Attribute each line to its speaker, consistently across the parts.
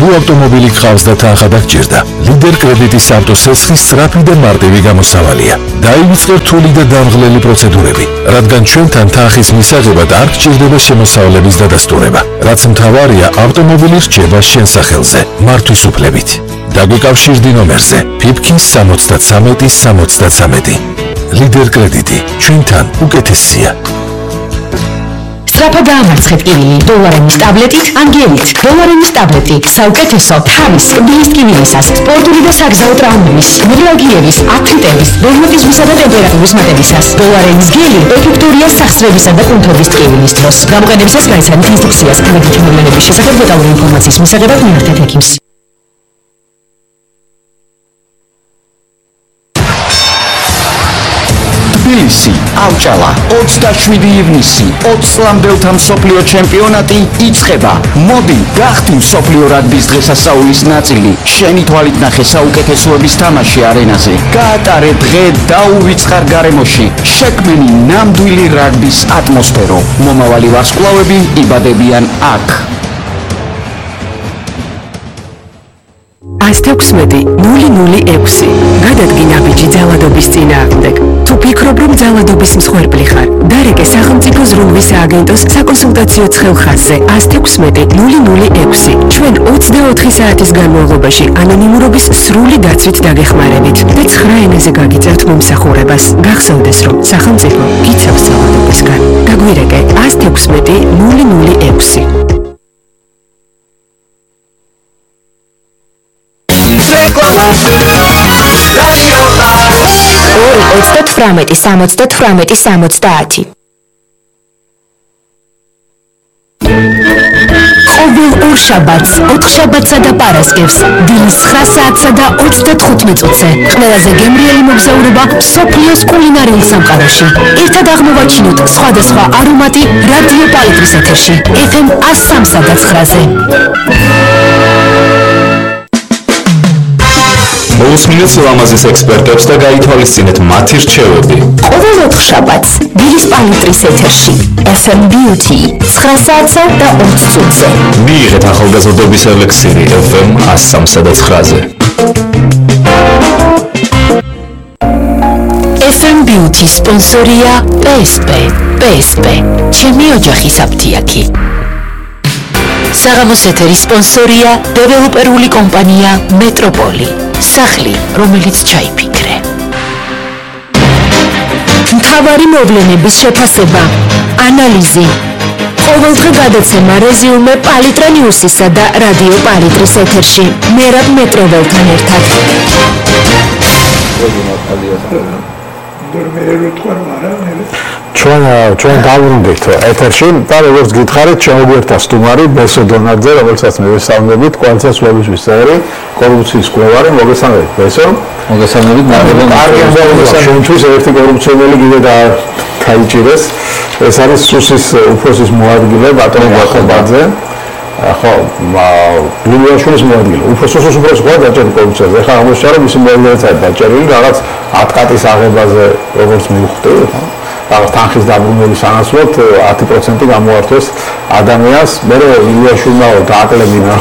Speaker 1: თუ ავტომობილი გყავს და თანხა დაგჭირდა, ლიდერ კრედიტის ავტოსესხი სწრაფი და მარტივი გამოსავალია. დაივიწყე რთული და დამღლელი პროცედურები, რადგან ჩვენთან თანხის მისაღებად არ გჭირდება შემოსავლების დადასტურება, რაც მთავარია ავტომობილი რჩება შენ სახელზე, მართვის უფლებით. დაგვიკავშირდი ნომერზე PIPKIN 73-73. ლიდერ კრედიტი, ჩვენთან უკეთესია.
Speaker 2: სწრაფად დაამარცხეთ კივილი დოლარენის ტაბლეტით, ანგელით. დოლარენის ტაბლეტი საუკეთესო თავის კბილის ტკივილისას, სპორტული და საგზაო ტრაუმების, მიდრაგიების, აფრიტების, რევმატიზმისა და ტემპერატურის მატებისას. დოლარენის გელი ეფექტურია სახსრებისა და კუნთობის ტკივილის დროს. გამოყენებისას გაიცანით ინსტრუქციას. თანხმობის მოვლენების შესახებ დეტალური ინფორმაციის მისაღებად მიართეთ ექიმს.
Speaker 3: თბილისი, ავჭალა, 27 ივნისი, 20 წლამდელთა მსოფლიო ჩემპიონატი იწყება. მოდი, გახდი მსოფლიო რაგბის დღესასწაულის ნაწილი. შენი თვალით ნახე საუკეთესოების თამაში არენაზე. გაატარე დღე დაუვიწყარ გარემოში. შექმენი ნამდვილი რაგბის ატმოსფერო. მომავალი ვარსკვლავები იბადებიან აქ.
Speaker 2: 116-006 გადადგინა ბიჭი ძალადობის წინააღმდეგ. თუ ფიქრობ, რომ ძალადობის მსხვერპლი ხარ, დარეკე სახელმწიფო ზრუნვის სააგენტოს საკონსულტაციო ცხელხაზზე 116-006. ჩვენ 24 საათის განმავლობაში ანონიმურობის სრული დაცვით დაგეხმარებით და 9 ენაზე გაგიწევთ მომსახურებას. გახსოვდეს, რომ სახელმწიფო გიცავს ძალადობისგან. დაგვირეკე 116-006. 2-38-70-70. ყოველ ორ შაბათს, 4 შაბათსა და პარასკევს, დილის 9 საათსა და 35 წუთზე, ყველაზე გემრიელი მოგზაურობა მსოფლიოს კულინარიულ სამყაროში. ერთად აღმოვაჩინოთ სხვადასხვა არომატი რადიო პალიტრის ეთერში, FM 103.9-ზე.
Speaker 4: მოусმინეთ ლამაზის ექსპერტებს და გაითვალისწინეთ მათი რჩევები.
Speaker 2: ყოველ 4 შაბათს დილის პალიტრის ეთერში FM Beauty 9 საათსა და 20 წუთზე.
Speaker 4: მიიღეთ ახალგაზრდობის ელექსირი FM 103.9-ზე.
Speaker 2: FM Beauty სპონსორია PSP, ჩემი ოჯახის აფთიაქი. საღამოს ეთერის სპონსორია დეველოპერული კომპანია მეტროპოლი. სახლი, რომელიც ჩაიფიქრე. მთავარი მოვლენების შეფასება, ანალიზი. ყოველდღე გადაცემა რეზიუმე პალიტრა ნიუსისა და რადიო პალიტრის ეთერში. მერაბ მეტროველთან ერთად.
Speaker 5: ჩვენ დავბრუნდით ეთერში და როგორც გითხარით, შემოგვერთა სტუმარი ბესო დონაძე, რომელსაც მე ვესალმებით, კოალიციის ლობისთვის წევრი, კორუფციის მკვლევარი. მოგესალმებით ბესო.
Speaker 6: მოგესალმებით.
Speaker 5: ჩვენთვის ერთი კორუფციონერი კიდე დაიჭირეს. ეს არის სუსის უფროსის მოადგილე ბატონი ბახობაძე. ხო, ლულიაშვილის მოადგილე. უფროსის უფროსი ხო დაჭერილი კორუფციაზე. ეხლა აღმოჩნდა რომ მისი მოადგილეც არის დაჭერილი რაღაც 10 კატის აღებაზე, როგორც მივხვდი, ხო? რაღაც თანხის დაბრუნების სანაცვლოდ 10% გამოართვეს ადამიანს. მე ლულიაშვილმა დააკლებინა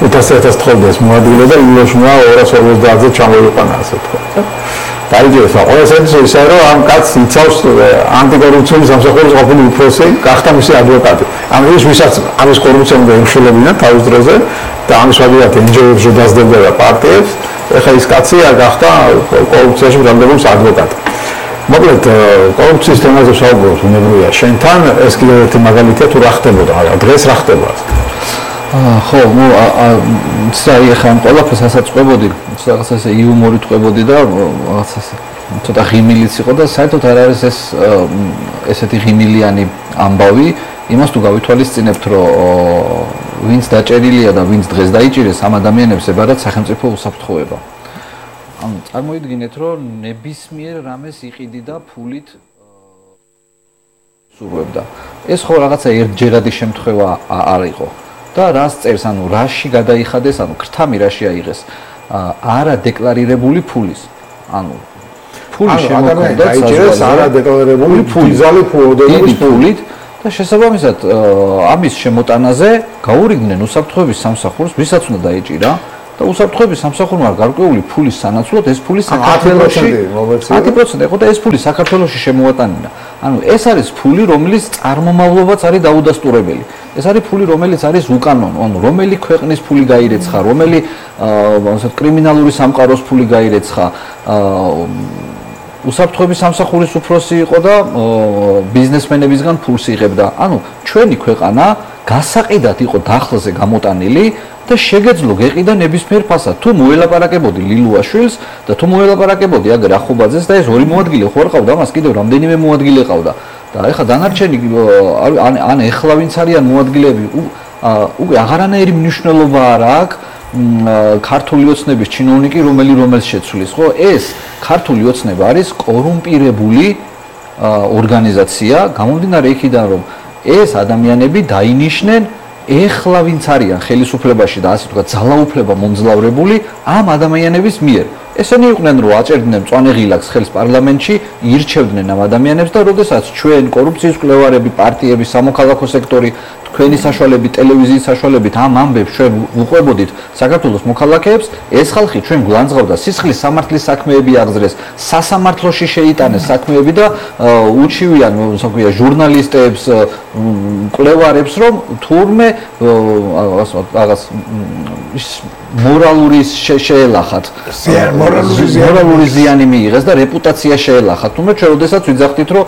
Speaker 5: 500,000 თხოვდეს მოადგილე და ლულიაშვილმა 250-ზე ჩამოიყვანა, ასე თქვა. დაიჯერეს. ყველას ისე რომ ამ კაცს იცავს ანტიკორუფციული სამსახურის ყოფილი უფროსი, გახდა მისი ადვოკატი. ამის ვისაც ამის კორუფციამდე ემშელებინა თავის დროზე და ამის ვადიათ NGO-ებში დაძდებდა და პარტიებს, ეხლა ის კაცია გახდა კორუფციაში ბრალდების ადვოკატი. მოკლედ კორუფციის თემაზე საუბრობთ უნებრივია. შენთან ეს კიდევ ერთი მაგალითია თუ რა ხდებოდა, დღეს რა ხდება?
Speaker 6: ხო, აი ახლა ამ ყველაფერს ასაწყობოდი, რაღაც ესე იუმორით ყვებოდი და რაღაც ესე ცოტა ღიმილიც იყო და საერთოდ არ არის ეს ესეთი ღიმილიანი ამბავი, იმას თუ გავითვალისწინებთ, რომ ვინც დაჭერილია და ვინც დღეს დაიჭირეს, ამ ადამიანებს ებარათ სახელმწიფო უსაფრთხოება. ანუ წარმოიდგინეთ, რომ ნებისმიერ რამეს იყიდიდა ფულით სურვებდა. ეს ხო რაღაცა ერთჯერადი შემთხვევა არ იყო. და რას წერს, ანუ რაში გადაიხადეს, ანუ ქრთამი რაში აიღეს, არა დეკლარირებული ფულის. ანუ ფული შემოგვდა,
Speaker 5: დაიჭირეს არა დეკლარირებული ფული, ზალი ფულოდების ფულით
Speaker 6: და შესაბამისად ამის შემოტანაზე გაურიგდნენ უსაფრთხოების სამსახურს, ვისაც უნდა დაეჭირა და უსაფრთხოების სამსახურმა გარკვეული ფულის სანაცვლოდ ეს ფული საქართველოში 10% იყო და ეს ფული საქართველოში შემოატანინა. ანუ ეს არის ფული, რომლის წარმომავლობაც არის დაუდასტურებელი. ეს არის ფული, რომელიც არის უკანონო, ანუ რომელი ქვეყნის ფული გაირეცხა, რომელი კრიმინალური სამყაროს ფული გაირეცხა, უსაფრთხოების სამსახურის უფროსი იყო და ბიზნესმენებისგან ფულს იღებდა. ანუ ჩვენი ქვეყანა გასაყიდად იყო დახლზე გამოტანილი და შეგეძლო გეყიდა ნებისმიერ ფასად. თუ მოელაპარაკებოდი ლილუაშვილს და თუ მოელაპარაკებოდი აგერ ახობაძეს და ეს ორი მოადგილე ხო არ ყავდა, მას კიდევ რამდენიმე მოადგილე ყავდა. და ეხლა დანარჩენი ან ეხლა ვინც არიან მოადგილეები, უკვე აღარანაირი მნიშვნელობა არ აქვს ქართული ოცნების ჩინოვნიკი რომელს შეცვლის, ხო? ეს ქართული ოცნება არის კორუმპირებული ორგანიზაცია, გამომდინარე იქიდან, რომ ეს ადამიანები დაინიშნენ ეხლა ვინც არიან ხელისუფლებაში და ასე ვთქვათ ძალაუფლება მომძლავრებული ამ ადამიანების მიერ. ესენი იყვნენ, რომ აჭერდნენ მწვანე ღილაკს ხელს პარლამენტში, ირჩევდნენ ამ ადამიანებს და როდესაც ჩვენ კორუფციის მკვლევარები, პარტიები, სამოქალაქო სექტორი, თქვენი საშუალებით, ტელევიზიის საშუალებით ამ ამბებს ჩვენ უყვებოდით საქართველოს მოქალაქეებს, ეს ხალხი ჩვენ გვანძღავდა სისხლის სამართლის საქმეები აღძრეს, სასამართლოში შეიტანეს საქმეები და უჩივიან, ასე ვქვია, ჟურნალისტებს, მკვლევარებს, რომ თურმე რაღაც მორალური შეელახათ. მორალური ზიანი მიიღეს და რეპუტაცია შეელახათ. თუმცა ჩვენ როდესაც ვიძახდით, რომ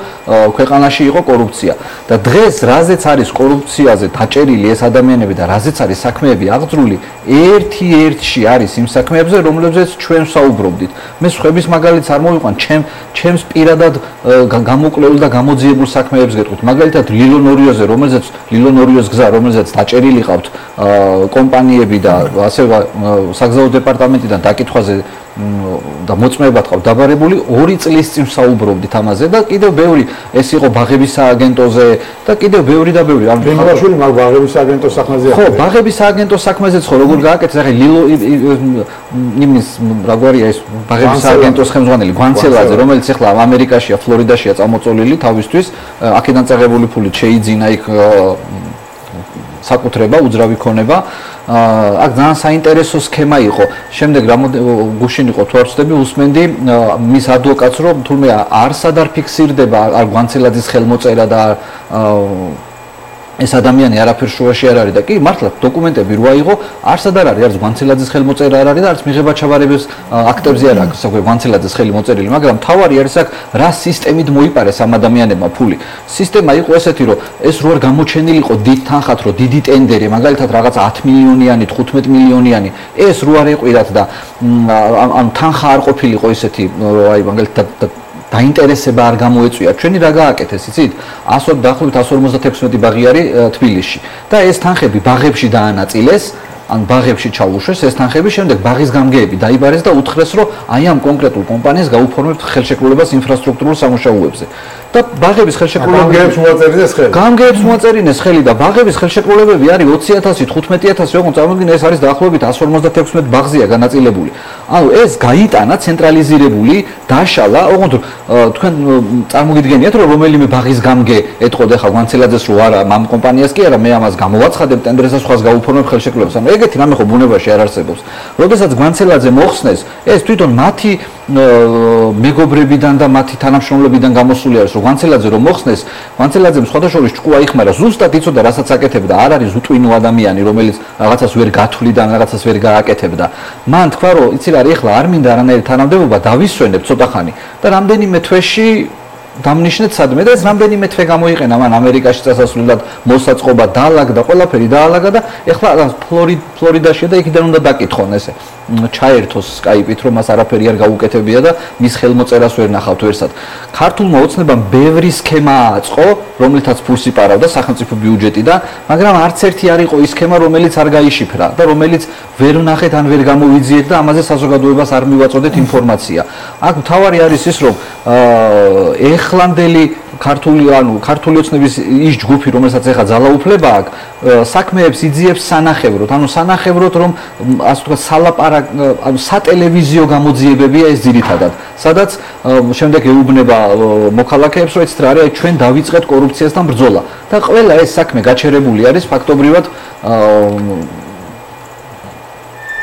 Speaker 6: ქვეყანაში იყო კორუფცია და დღეს რაზეც არის კორუფციაზე დაჭერილი ეს ადამიანები და რაზეც არის საქმეები აღძრული, ერთ-ერთში არის იმ საქმეებზე, რომლებზეც ჩვენ ვსაუბრობდით. მე სხვების მაგალითს არ მოვიყვან, ჩემს პირადად გამოკვლეულ და გამოძიებულ საქმეებს გეტყვით. მაგალითად ლილო ნორიოზე, ლილო-ნორიოს გზა, რომელზეც დაჭერილი ყავთ კომპანიები და ასე საგზაო დეპარტამენტიდან დაკითხვაზე და მოწმეებად ყავთ დაბარებული 2 წლის წინ ვსაუბრობდით ამაზე და კიდევ ბევრი ეს იყო ბაღების სააგენტოზე და კიდევ ბევრი და ბევრი. ანუ
Speaker 5: ბენგალაშვილი მაგ ბაღების სააგენტოს საქმეზე.
Speaker 6: ხო, ბაღების სააგენტოს საქმეზეც ხო როგორ გააკეთეს, ახლა ლილო იმის რაგვარია ეს ბაღების სააგენტოს ხელმძღვანელი გვანცელაძე, რომელიც ახლა ამერიკაშია, ფლორიდაშია წამოწოლილი თავისთვის, აქედან წაღებული ფულით შეიძინა იქ საკუთრება, უძრავი ქონება. აქ ძალიან საინტერესო სქემა იყო. შემდეგ გუშინ იყო თუ არ ვცდები, უსმენდი მის ადვოკატს, რომ თურმე არსად არ ფიქსირდება არ გვანცელაძის ხელმოწერა და ეს ადამიანი არაფერ შუაში არ არის და კი მართლა დოკუმენტები რო აიღო, არსად არ არის, არც გვანცელაძის ხელმოწერა არ არის და არც მიღება ჩაბარების აქტებზე არ აქვს, ასე გვანცელაძის ხელი მოწერილი, მაგრამ თავარი არის აქ რა სისტემით მოიპარეს ამ ადამიანებმა ფული. სისტემა იყო ესეთი, რომ ეს რო არ გამოჩენილიყო დიდ თანხად, რომ დიდი ტენდერი, მაგალითად რაღაც 10 მილიონიანი, 15 მილიონიანი, ეს რო არ ეყვირათ და ანუ თანხა არ ყოფილიყო ესეთი, აი მაგალითად დაინტერესება არ გამოეწვია. ჩვენი რა გააკეთეს, იცით? დაახლოებით 156 ბაღი არის თბილისში და ეს თანხები ბაღებში დაანაწილეს, ან ბაღებში ჩაუშვეს ეს თანხები, შემდეგ ბაღის გამგეები დაიბარეს და უთხრეს, რომ აი ამ კონკრეტულ კომპანიას გაუფორმებთ ხელშეკრულებას ინფრასტრუქტურულ სამუშაოებზე. და ბაღების ხელშეკრულებებს
Speaker 5: მოაწერინეს ხელი.
Speaker 6: გამგეებს მოაწერინეს ხელი და ბაღების ხელშეკრულებები არის 20.000, 15.000, როგორ წარმოგიდგენთ, ეს არის დაახლოებით 156 ბაღზეა განაწილებული. ანუ ეს გაიტანა ცენტრალიზირებული, დაშალა, ოღონდ თქვენ წარმოგიდგენიათ, რომ რომელიმე ბაღის გამგე ეთყოდა ხა გვანცელაძეს, რომ არა, ამ კომპანიას კი არა, მე ამას გამოვაცხადებ ტენდერზე, სხვას გაუფორმებ ხელშეკრულებას. ანუ ეგეთი რამე ხო ბუნებაში არ არსებობს. როდესაც გვანცელაძე მოხსნეს, ეს თვითონ მათი მეგობრებიდან და მათი თანამშრომლებიდან გამოსული არის, რომ გვანცელაძე რომ მოხსნეს, გვანცელაძემ სხვადასხვა ჭკუა იხმარა, ზუსტად იცოდა, რასაც აკეთებდა, არ არის უტვინო ადამიანი, რომელიც რაღაცას ვერ გათვლიდა, რაღაცას ვერ გააკეთებდა. მან თქვა, რომ იცი რა, ეხლა არ მინდა არანაირი თანამდებობა, დავისვენებ ცოტა ხანი და რამდენიმე თვეში დამნიშნეთ სადმე და ეს რამდენიმე თვე გამოიყენა მან ამერიკაში წასასვლელად, მოსაწყობა დაალაგდა, ყველაფერი დაალაგა და ეხლა ფლორიდაშია და იქიდან უნდა დაკითხონ ესე. ჩაერთოს სკაიპით, რომ მას არაფერი არ გაუკეთებია და მის ხელმოწერას ვერ ნახავთ ვერსად. ქართულმა ოცნებამ ბევრი სქემა აწყო, რომლითაც ფულს იპარავდა სახელმწიფო ბიუჯეტიდან, მაგრამ არც ერთი არ იყო ის სქემა, რომელიც არ გაიშიფრა და რომელიც ვერ ვნახეთ ან ვერ გამოვიძიეთ და ამაზე საზოგადოებას არ მივაწოდეთ ინფორმაცია. აქ მთავარი არის ის, რომ ეხლანდელი ქართული ოცნების ის ჯგუფი, რომელსაც ეხა ძალაუფლება აქვს, საქმეებს იძიებს სანახევროდ, სანახევროდ რომ ასე ვთქვათ სატელევიზიო გამოძიებებია ეს ძირითადად, სადაც შემდეგ ეუბნება მოქალაქეებს, რომ ეცეთ რა არის, ჩვენ დავიწყეთ კორუფციასთან ბრძოლა და ყველა ეს საქმე გაჩერებული არის ფაქტობრივად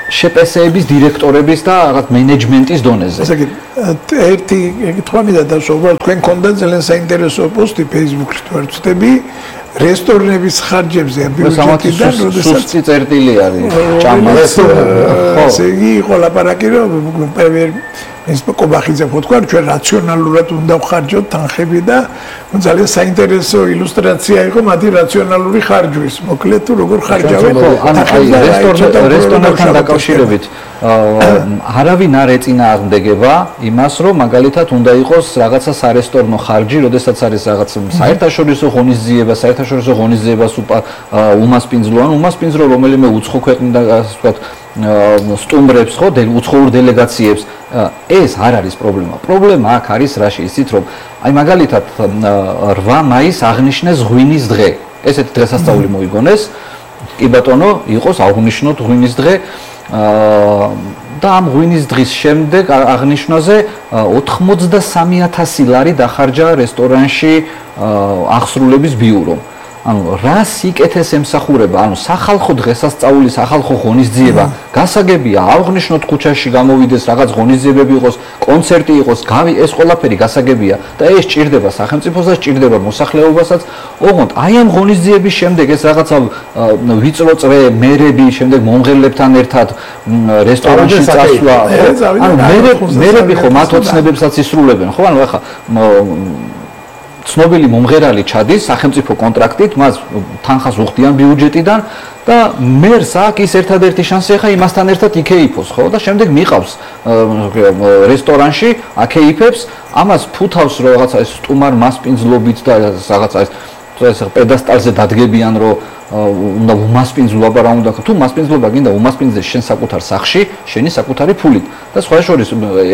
Speaker 6: შეპესეების დირექტორების და რაღაც მენეჯმენტის დონეზე.
Speaker 7: ასე კი, ერთი კითხვა მინდა დასვლა, თქვენ გქონდა ძალიან საინტერესო პოსტი Facebook-ში თუ არ ვცდები, რესტორნების ხარჯებზე ბიუჯეტიდან, როდესაც
Speaker 6: სუსტი წერტილი არის, ჭამა.
Speaker 7: ესე იგი, იყო ლაპარაკი, რომ ეს კობახიძე თქვა, ჩვენ რაციონალურად უნდა ვხარჯოთ თანხები და ძალიან საინტერესო ილუსტრაცია იყო მათი რაციონალური ხარჯვის. მოკლედ თუ როგორ ხარჯავენ?
Speaker 6: რესტორნებთან დაკავშირებით არავინ არ ეწინააღმდეგება იმას, რომ მაგალითად უნდა იყოს რაღაცა სარესტორნო ხარჯი, როდესაც არის რაღაც საერთაშორისო ღონისძიებას უმასპინძლო რომელიმე უცხო ქვეყნიდან ასე ვთქვათ სტუმრებს ხო უცხოურ დელეგაციებს ეს არ არის პრობლემა. პრობლემა აქ არის რაში ისიც რომ აი მაგალითად 8 მაისს აღნიშნეს ღვინის დღე. ესეთი დღესასწაული მოიგონეს. კი ბატონო, იყოს აღნიშნოთ ღვინის დღე და ამ ღვინის დღის შემდეგ აღნიშვნაზე 83,000 ლარი დახარჯა რესტორანში აღსრულების ბიურომ. რა სიკეთეს ემსახურება, სახალხო დღესასწაული, სახალხო ღონისძიება, გასაგებია, აღნიშნოთ ქუჩაში გამოვიდეს რაღაც ღონისძიებები იყოს, კონცერტი იყოს, ეს ყველაფერი გასაგებია და ეს ჭირდება სახელმწიფოსაც, ჭირდება მოსახლეობასაც. ოღონდ აი ამ ღონისძიების შემდეგ ეს რაღაცა ვიწრო წრე მერები, შემდეგ მომღერლებთან ერთად რესტორანში წასვლა, მერები ხო მათ ოცნებებსაც ისრულებენ, ხო? ახლა ცნობილი მომღერალი ჩადის სახელმწიფო კონტრაქტით, მას თანხას უხდიან ბიუჯეტიდან და მერს აქვს ის ერთადერთი შანსი ახლა იმასთან ერთად იქეიფოს, ხო? და შემდეგ მიყავს რესტორანში, აქეიფებს, ამას ფუთავს რომ რაღაცა ეს სტუმარ მასპინძლობით და რაღაცა ეს პედესტალზე დადგებიან, რომ უნდა უმასპინძლობა რა უნდა თუ მასპინძლობა გინდა უმასპინძლე შენ საკუთარ სახში, შენი საკუთარი ფულით და სხვა შორის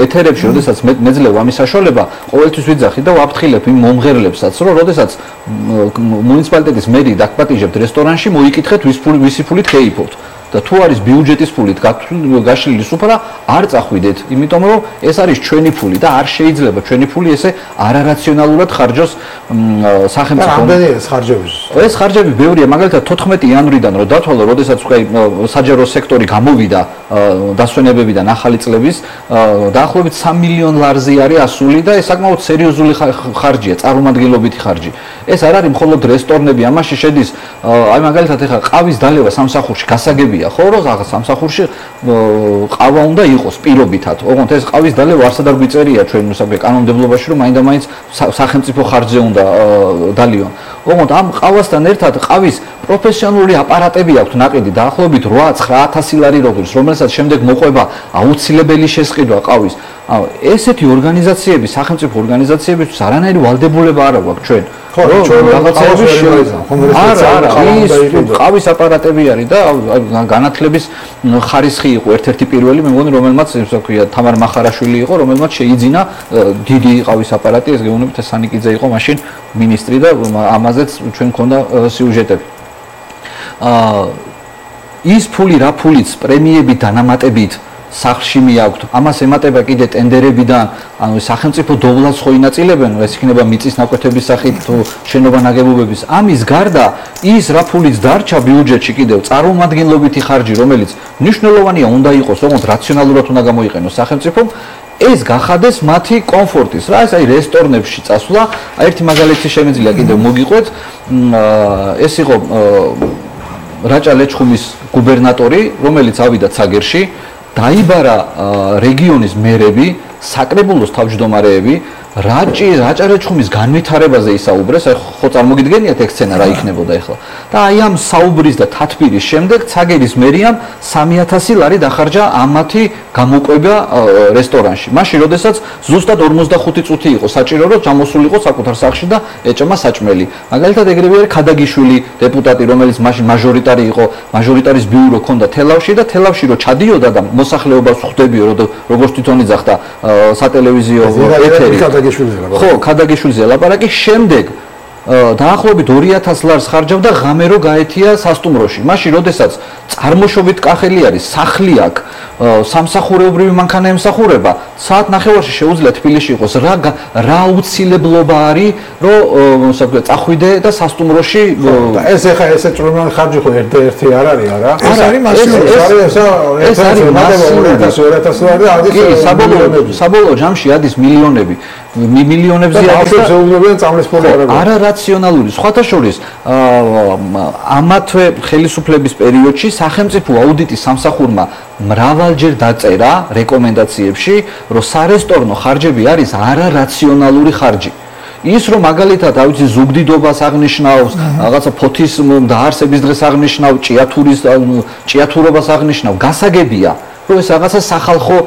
Speaker 6: ეთერებში, როდესაც მეძლევ ამის საშუალება, ყოველთვის ვიძახი და ვაფრთხილებ იმ მომღერლებსაც, რომ როდესაც მუნიციპალიტეტის მერი დაგპატიჟებთ რესტორანში, მოიკითხეთ ვისი ფულით გეიფობთ. და თუ არის ბიუჯეტის ფულით გაშლილი სუფრა, არ წახვიდეთ, იმიტომ რომ ეს არის ჩვენი ფული და არ შეიძლება ჩვენი ფული ესე არარაციონალურად ხარჯოს სახელმწიფო.
Speaker 5: რამდენი ეს ხარჯები?
Speaker 6: ეს ხარჯები ბევრია, მაგალითად 14 იანვრიდან რომ დათვალო, როდესაც საჯარო სექტორი გამოვიდა დასვენებებიდან ახალი წლების, დაახლოებით 3 მილიონ ლარზე არის ასული და ეს საკმაოდ სერიოზული ხარჯია, წარმომადგენლობითი ხარჯი. ეს არ არის მხოლოდ რესტორნები, ამაში შედის აი მაგალითად ეხლა ყავის დალევა სამსახურში გასაგებია ხო რომ რაღაც სამსახურში ყავა უნდა იყოს პირობითად. ოღონდ ეს ყავის დალევა არსად არ გვიწერია ჩვენ კანონმდებლობაში რომ მაინდა-მაინც სახელმწიფო ხარჯზე უნდა დალიონ. ოღონდ ამ ყავასთან ერთად ყავის პროფესიონალური აპარატები აქვს ნაყიდი დაახლოებით 8-9,000 ლარი როგორც, რომელსაც შემდეგ მოყვება აუცილებელი შესყიდვა ყავის. ესეთი ორგანიზაციები, სახელმწიფო ორგანიზაციებისთვის არანაირი ვალდებულება არ აქვს ჩვენ.
Speaker 5: ხო, რაღაცეები
Speaker 6: არა, ის ყავის აპარატები არის და განათლების ხარისხი იყო ერთ-ერთი პირველი, მე მგონი, რომელმაც ისე ვქვია, თამარ მახარაშვილი იყო, რომელმაც შეიძინა დიდი ყავის აპარატი, ეს გეუბნებით სანიკიძე იყო მაშინ მინისტრი და ამაზეც ჩვენ მქონდა სიუჟეტები. ის ფული რა ფულიც პრემიებით დანამატებით სახლში მიაქვთ, ამას ემატება კიდე ტენდერებიდან, ანუ სახელმწიფო დოვლას ხო ინაწილებენ, ეს იქნება მიწის ნაკვეთების სახით თუ შენობა ნაგებობების. ამის გარდა ის რა ფულიც დარჩა ბიუჯეტში კიდევ წარმომადგენლობითი ხარჯი, რომელიც მნიშვნელოვანია უნდა იყოს, ოღონდ რაციონალურად უნდა გამოიყენოს სახელმწიფომ, ეს გახადეს მათი კომფორტის. რა ეს აი რესტორნებში წასვლა, ერთი მაგალითი შემიძლია კიდევ მოგიყვეთ, ეს იყო რაჭა ლეჩხუმის გუბერნატორი, რომელიც ავიდა ცაგერში, დაიბარა რეგიონის მერები, საკრებულოს თავმჯდომარეები, რაჭა ლეჩხუმის განვითარებაზე ისაუბრეს, აი ხო წარმოგიდგენიათ ეგ სცენა რა იქნებოდა ახლა. და აი ამ საუბრის და თათბირის შემდეგ ცაგერის მერიამ 3,000 ლარი დახარჯა ამათი გამოყვება რესტორანში. მაშინ, როდესაც ზუსტად 45 წუთი იყო საჭირო, რომ ჩამოსულიყო საკუთარ სახლში და ეჭმა საჭმელი. მაგალითად, ეგრევე არის ქადაგიშვილი დეპუტატი, რომელიც მაშინ მაჟორიტარი იყო, მაჟორიტარის ბიურო ჰქონდა თელავში და თელავში რო ჩადიოდა და მოსახლეობას ხვდებიო, როგორც თვითონ იძახდა სატელევიზიო ეთერი.
Speaker 5: ქადაგიშვილიზე ლაპარაკი.
Speaker 6: ხო, ქადაგიშვილიზე ლაპარაკი, შემდეგ დაახლოებით 2000 ლარს ხარჯავდა ღამე რო გაეთია სასტუმროში. მაშინ, როდესაც წარმოშობით კახელი არის, სახლი აქვს, სამსახურეობრივი მანქანა ემსახურება, საათ ნახევარში შეუძლია თბილისში იყოს. რა აუცილებლობა არის, რომ წახვიდე და სასტუმროში
Speaker 5: და ეს ახლა ესე წვრილმანი ხარჯი ხო ერთ-ერთი არ არის, არა?
Speaker 7: ეს არის მასიური.
Speaker 6: ეს არის მასიური
Speaker 5: 2000 ლარი და ადის
Speaker 6: მილიონები. საბოლოო ჯამში ადის მილიონები. მილიონებზე
Speaker 5: არის და შეუძლებიან წამლის ფონი არ არის.
Speaker 6: არარაციონალური. სხვათა შორის ამათვე ხელისუფლების პერიოდში სახელმწიფო აუდიტის სამსახურმა მრავალჯერ დაწერა რეკომენდაციებში, რომ სარესტორნო ხარჯები არის არარაციონალური ხარჯი. ის რომ მაგალითად, რა ვიცი, ზუგდიდობას აღნიშნავს, რაღაცა ფოთის დაარსების დღეს აღნიშნავს, ჭიათურობას აღნიშნავს, გასაგებია, რომ ეს რაღაცა სახალხო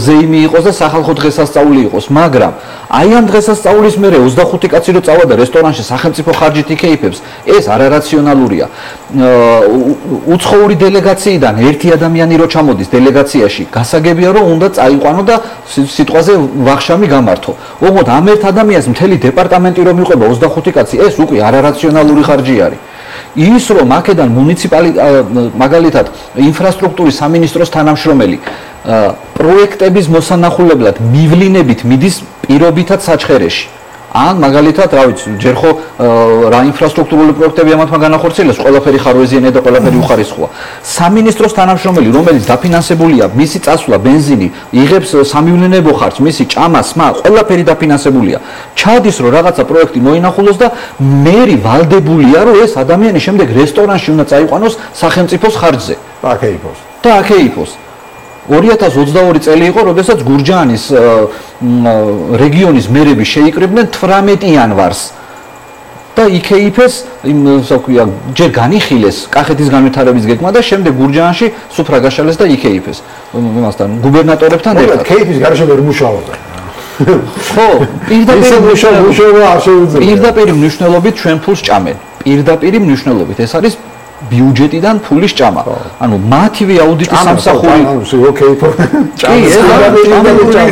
Speaker 6: ზეიმი იყოს და სახალხო დღესასწაული იყოს, მაგრამ აი ამ დღესასწაულის მერე 25 კაცი რო წავა და რესტორანში სახელმწიფო ხარჯით იკეიფებს, ეს არარაციონალურია. უცხოური დელეგაციიდან ერთი ადამიანი რო ჩამოდის დელეგაციაში, გასაგებია რომ უნდა წაიყვანო და სიტყვაზე ვახშამი გამართო. ოღონდ ამ ერთ ადამიანს მთელი დეპარტამენტი რომ იყვება 25 კაცი, ეს უკვე არარაციონალური ხარჯი არის. ის რომ აქედან მაგალითად ინფრასტრუქტურის სამინისტროს თანამშრომელი პროექტების მოსანახულებლად მივლინებით მიდის პირობითად საჩხერეში. ან მაგალითად, რა ვიცი, ჯერ ხო რა ინფრასტრუქტურული პროექტები ამათმა განახორციელეს, ყველაფერი ხარვეზიანია და ყველაფერი უხარისხოა. სამინისტროს თანამშრომელი, რომელიც დაფინანსებულია, მისი წასვლა, ბენზინი, იღებს სამივლინებო ხარჯს, მისი ჭამა, სმა, ყველაფერი დაფინანსებულია. ჩადის რომ რაღაცა პროექტი მოინახულოს და მერი ვალდებულია, რომ ეს ადამიანი შემდეგ რესტორანში უნდა წაიყვანოს სახელმწიფოს ხარჯზე.
Speaker 5: და აკეიფოს.
Speaker 6: და აკეიფოს. 2022 წელი იყო, როდესაც გურჯაანის რეგიონის მერები შეიკრიბნენ 18 იანვარს და იქეიფეს, ჯერ განიხილეს კახეთის განვითარების გეგმა და შემდეგ გურჯაანში სუფრა გაშალეს და იქეიფეს. იმასთან გუბერნატორებთან ერთად.
Speaker 5: კეიფის გარეშე ვერ მუშაობდა.
Speaker 6: ხო, პირდაპირ მნიშვნელობით ჩვენ ფულს ჭამენ. პირდაპირ მნიშვნელობით ეს არის ბიუჯეტიდან ფულის ჭამა. ანუ მათივე აუდიტის სამსახური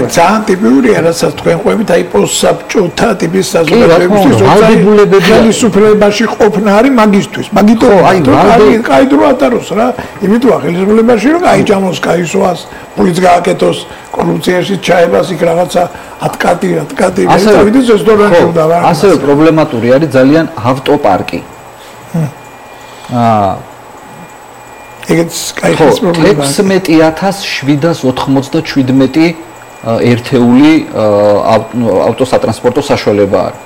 Speaker 7: ძალიან ტიპურია, რასაც თქვენ ყვებით, აი პოსტსაბჭოთა ტიპის საზოგადოებისთვის ხელისუფლებაში ყოფნა არის მაგისთვის. მაგითო აი კაი დრო ატაროს რა. იმითოა ხელისუფლებაში რომ გაიჭამოს, გაისვას, ფულიც გააკეთოს, კორუფციაში ჩაებას იქ რაღაცა ატკატი წავიდეს რესტორანში უნდა ვარ.
Speaker 6: ასევე პრობლემატური არის ძალიან ავტოპარკი.
Speaker 7: ეგეც კაიხის პრობლემაა.
Speaker 6: 16787 ერთეული ავტოსატრანსპორტო საშუალება არის.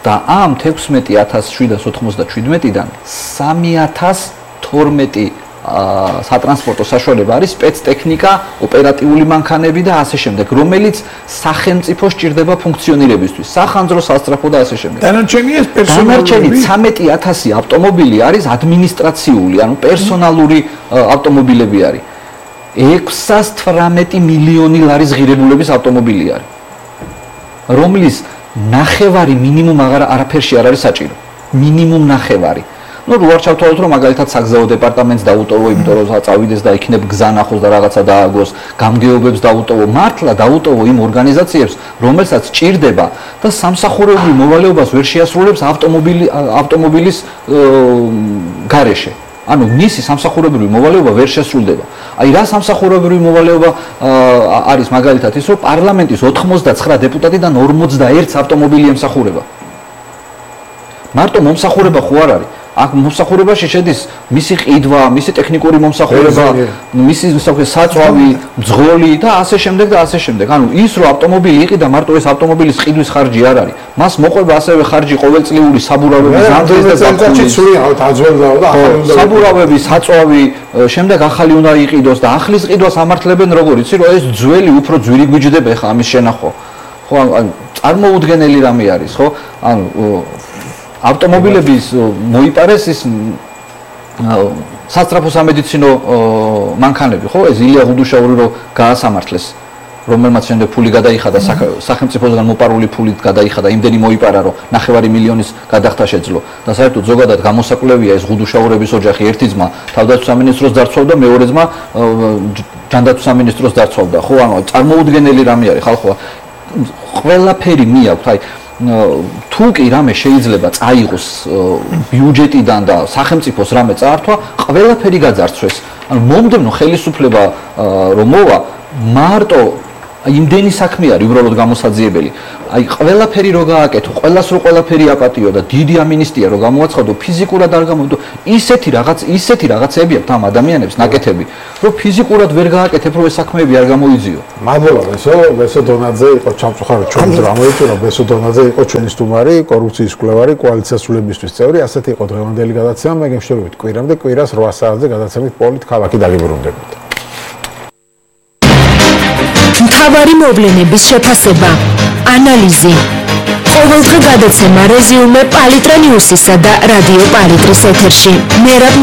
Speaker 6: და ამ 16787-დან 3012 სატრანსპორტო საშუალება არის სპეცტექნიკა, ოპერატიული მანქანები და ასე შემდეგ, რომელიც სახელმწიფო სჭირდება ფუნქციონირებისთვის, სახანძრო, სასწრაფო და ასე შემდეგ.
Speaker 7: დანარჩენი ეს პერსონალური
Speaker 6: 13000 ავტომობილი არის ადმინისტრაციული, ანუ პერსონალური ავტომობილები არის. 618 მილიონი ლარის ღირებულების ავტომობილი არის, რომლის ნახევარი მინიმუმ არაფერში არ არის საჭირო. მინიმუმ ნახევარი. ნუ როარ ჩავთვალოთ რომ მაგალითად საგზაო დეპარტამენტს დაუტოვო, იმიტომ რომ წავიდეს და იქნებ გზა ნახოს და რაღაცა დააგოს, გამგეობებს დაუტოვო, მართლა დაუტოვო იმ ორგანიზაციებს, რომელსაც ჭირდება და სამსახურებრივ მოვალეობას ვერ შეასრულებს ავტომობილის გარეშე. ანუ მისი სამსახურებრივი მოვალეობა ვერ შესრულდება. აი რა სამსახურებრივი მოვალეობა არის მაგალითად ის, რომ პარლამენტის 89 დეპუტატიდან 41-ს ავტომობილი ემსახურება. მარტო მომსახურება ხო არ არის? აქ მომსახურებაში შედის მისი ყიდვა, მისი ტექნიკური მომსახურება, მისი საწვავი, მძღოლი და ასე შემდეგ და ასე შემდეგ. ანუ ის რომ ავტომობილი იყიდა, მარტო ეს ავტომობილის ყიდვის ხარჯი არ არის. მას მოყვება ასევე ხარჯი ყოველწლიური საბურავების ამდენს და საბურავები, საწვავი, შემდეგ ახალი უნდა იყიდოს და ახლის ყიდვას ამართლებენ როგორ იცი, რომ ეს ძველი უფრო ძვირი გვიჯდება ხა ამის შენახვა. ხო, ანუ წარმოუდგენელი რამე არის, ხო? ანუ ავტომობილების მოიპარეს ის სასწრაფო სამედიცინო მანქანები, ხო? ეს ილია ღუდუშაური რო გაასამართლეს, რომელმაც შემდეგ ფული გადაიხადა სახელმწიფოსგან მოპარული ფულით გადაიხადა, იმდენი მოიპარა, რომ 9 მილიონის გადახდა შეძლო. და საერთოდ ზოგადად გამოსაკვლევია ეს ღუდუშაურების ოჯახი, ერთი ძმა თავდაცვის სამინისტროს დარწმობდა, მეორე ძმა ჯანდაცვის სამინისტროს დარწმობდა, ხო? ანუ წარმოუდგენელი რამე არის, ხალხო. ყველაფერი მიაქვთ, აი თუ კი რამე შეიძლება წაიღოს ბიუჯეტიდან და სახელმწიფოს რამე წაართვა, ყველაფერი გაძარცვეს. ანუ მომდევნო ხელისუფლება რომ მოვა, მარტო იმდენი საქმე არის უბრალოდ გამოსაძიებელი. აი ყველაფერი რო გააკეთო, ყველას რო ყველაფერი აპატიო და დიდი ამინისტია რო გამოაცხადო, ფიზიკურად არ გამოდო. ისეთი რაღაცები აქვს ამ ადამიანებს ნაკეთები, რომ ფიზიკურად ვერ გააკეთებ, რომ ეს საქმეები არ გამოიძიო.
Speaker 5: მადლობა, ბესო დონაძე იყო ჩამწუხარი ჩვენ დრამოიწუნა, ბესო დონაძე იყო ჩვენი სტუმარი, კორუფციის მკვლევარი, კოალიცია სრულებისთვის წევრი, ასეთი იყო დღევანდელი გადაცემა, მე გემშვიდობით კვირამდე, კვირას 8 საათზე გადაცემით პოლიტ ქალაქი დაგიბრუნდებით.
Speaker 8: მთავარი მოვლენების შეფასება, ანალიზი. ყოველდღე გადაცემა რეზიუმე პალიტრა ნიუსისა და რადიო პალიტრის ეთერში. მერაბ